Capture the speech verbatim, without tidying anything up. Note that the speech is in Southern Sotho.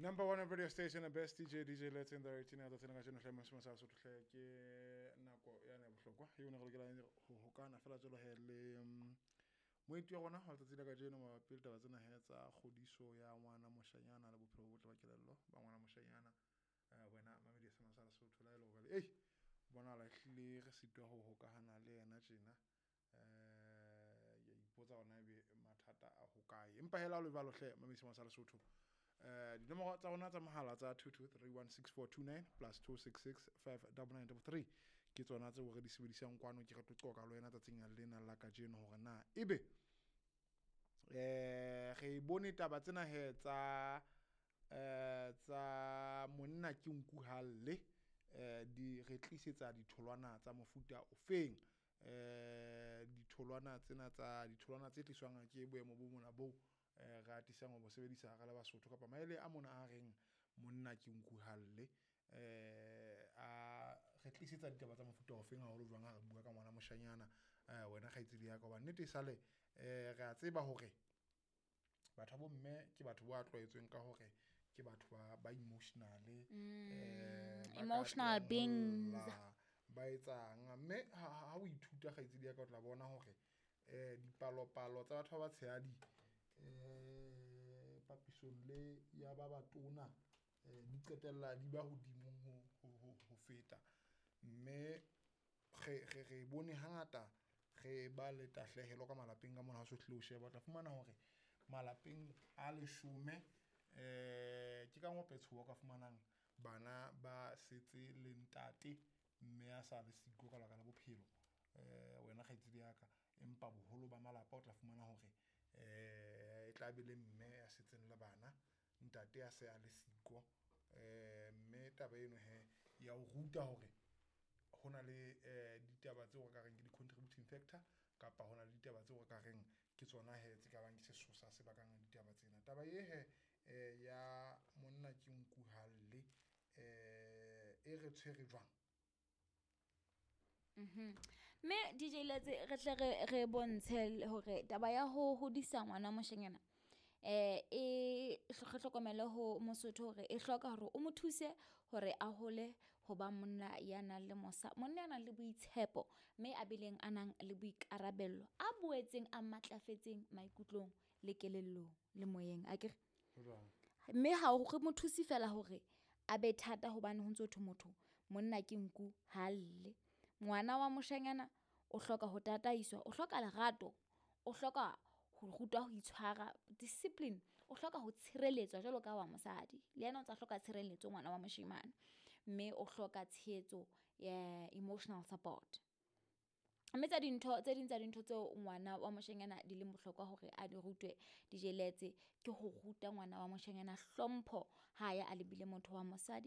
Number one radio station, the best D J, D J Let's in the eighteen tsatsing la kajeno hle, mosimo sa Sotho hle, ke nako ya ne bohlokwa eo ne re lokelang ho hokana fela jwalo he le mm, moeti wa rona wa letsatsi la kajeno mabapi le taba tsena he tsa kgodiso ya ngwana moshanyana le bophelo bo botle ba kelello ba ngwana moshanyana. eh, wena mamedi ya sema sa Lesotho la e le hore ei bonahala ehlile re sitwa ho hokahana le yena tjena, eh ya ipotsa hore ebe mathata a hokae, empa hela o le jwalo hle, mamedi sema sa Lesotho, eh dinomoro tsa rona tsa mohala tsa two two three one six four two nine plus two six six five nine nine three ke tsona tseo re di sebedisang kwano. Ke re tlo qoqa le wena tsatsing lena la kajeno hore na ebe eh re bone taba tsena he tsa eh tsa monna ke nku halle, eh di re tlisetsa ditholwana tsa mofuta ofeng, eh ditholwana tsena tsa ditholwana tse tliswang ke boemo bo mona bo eh re atisang ho bo sebedisa re le Basotho, kapa maele a mona a reng monna ke nku halle, eh a re tlisetsa ditaba tsa mofuta ofeng, haholo jwang ha re bua ka ngwana moshanyana. eh wena kgaitsedi ya ka, hobane nnete e sale eh re a tseba hore batho ba bomme ke batho ba tlwaetsweng ka hore ke batho ba ba emotional, eh ba ka Emotional tlohang ho beings. Lla, ba etsang, mme ha ha o ithuta, kgaitsedi ya ka, o tla bona hore eh dipalopalo tsa batho ba batshehadi eh papisong le ya ba batona eh di qetella di ba hodimo ho ho ho ho feta, mme re re re bone hangata re ba le tahlehelo ka malapeng ka mona. Ha o so hlile o sheba, o tla fumana hore malapeng a leshome eh ke ka ngope tshowa ka fumanang bana ba setse le ntate, mme a sa le siko ka lebaka la bophelo, eh wena kgaitsedi ya ka. Empa boholo ba malapa o tla fumana hore eh e tla be le mme ya setseng le bana, ntate a se a le siko. eh mme taba eno he ya o ruta hore ho na le eh ditaba tseo re ka reng ke di-contributing factor, kapa ho na le ditaba tseo re ka reng ke tsona he tse ka bang ke sesosa se bakang ditaba tsena. Taba e he eh ya monna ke nku halle eh e re tshwere jwang? Mme D J Letse, re tle re re bontshe hore taba ya ho hodisa ngwana moshanyana eh e re hlokomele ho Mosotho hore e hloka hore o mo thuse hore a hole ho ba monna ya nang le mosa, monna ya nang le boitshepo, mme a bileng a nang le boikarabello, a boetseng a matlafetseng maikutlong le kelellong le moyeng, akere? Ho jwang? Mme ha o re mo thuse fela hore a be thata, hobane ho ntso thwe motho monna ke nku ha lle. Ngwana wa moshanyana o hloka ho tataiswa, o hloka lerato, o hloka ho rutwa ho itshwara, discipline, o hloka ho tshireletswa jwalo ka wa mosadi, le yena o ntsa hloka tshireletso ngwana wa moshemane, mme o hloka tshehetso ya emotional support. Mme tsa dintho tse ding tsa dintho tseo ngwana wa moshanyana di leng bohlokwa hore a di rutwe, D J Letse, ke ho ruta ngwana wa moshanyana hlompho ha ya a lebile motho wa mosadi.